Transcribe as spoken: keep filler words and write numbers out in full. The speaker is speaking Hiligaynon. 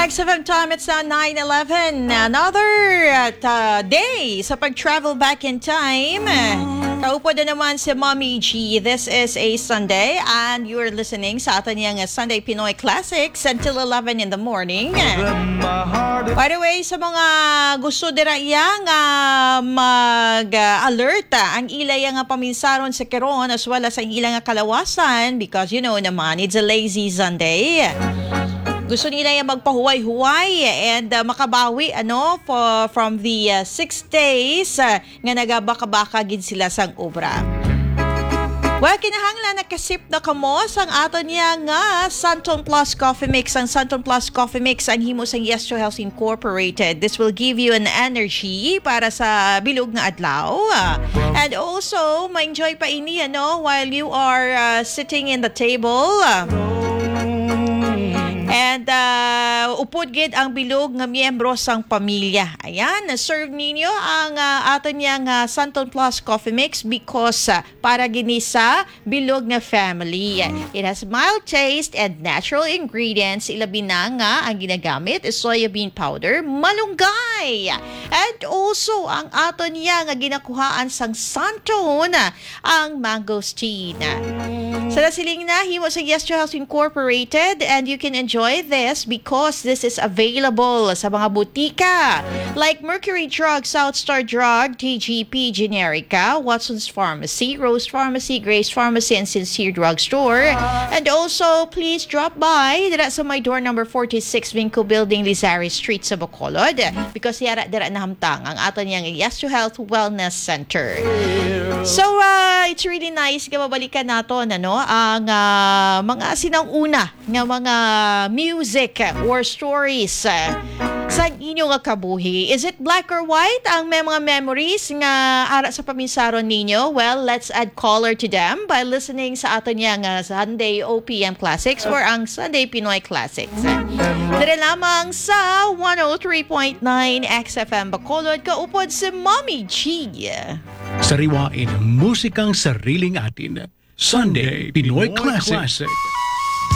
X F M time, it's now nine eleven. Another uh, ta- day sa pag-travel back in time. Kaupod na naman si Mommy G. This is a Sunday and you're listening sa aton yang Sunday Pinoy Classics until eleven in the morning. By the way, sa mga gusto dira iya nga mag-alert, ang ila iya nga paminsaron sa karon as well as ang ila nga kalawasan, because you know naman, it's a lazy Sunday. Gusto nila yung magpahuway-huway and uh, makabawi ano for, from the uh, six days uh, nga nagabaka-baka gid sila sang obra. Well, kinahanglan nakasip na kamo sang aton niya nga Santon Plus Coffee Mix. Ang Santon Plus Coffee Mix ang himo sang Yes to Health Incorporated. This will give you an energy para sa bilog nga adlaw. And also, ma-enjoy pa ini ano while you are uh, sitting in the table. And uh, upod gid ang bilog nga miyembro sang pamilya. Ayan, serve ninyo ang uh, aton niya nga Santon Plus Coffee Mix because uh, para gini sa bilog nga family. It has mild taste and natural ingredients. Ilabi na nga ang ginagamit is soya bean powder, malunggay. And also, ang aton niya nga ginakuhaan sang Santon, ang mangosteen. Sa nasiling na, himo sa Yes to Health Incorporated, and you can enjoy this because this is available sa mga butika like Mercury Drug, South Star Drug, T G P, Generica, Watson's Pharmacy, Rose Pharmacy, Grace Pharmacy, and Sincere Drugstore. And also, please drop by dira sa my door number forty-six, Vinco Building, Lizari Street sa Bacolod, because yara dira nahamtang ang aton yang Yes to Health Wellness Center. So, uh, it's really nice nga mabalikan naton ano, ang uh, mga sinang-una nga mga music or stories uh, sa inyo nga kabuhi. Is it black or white ang may mga memories nga ara sa paminsaron ninyo? Well, let's add color to them by listening sa aton niya nga Sunday O P M Classics or ang Sunday Pinoy Classics. Diri lamang sa one oh three point nine X F M Bacolod, kaupod si Mommy G. Sariwain musikang sariling atin. Sunday Pinoy Classic.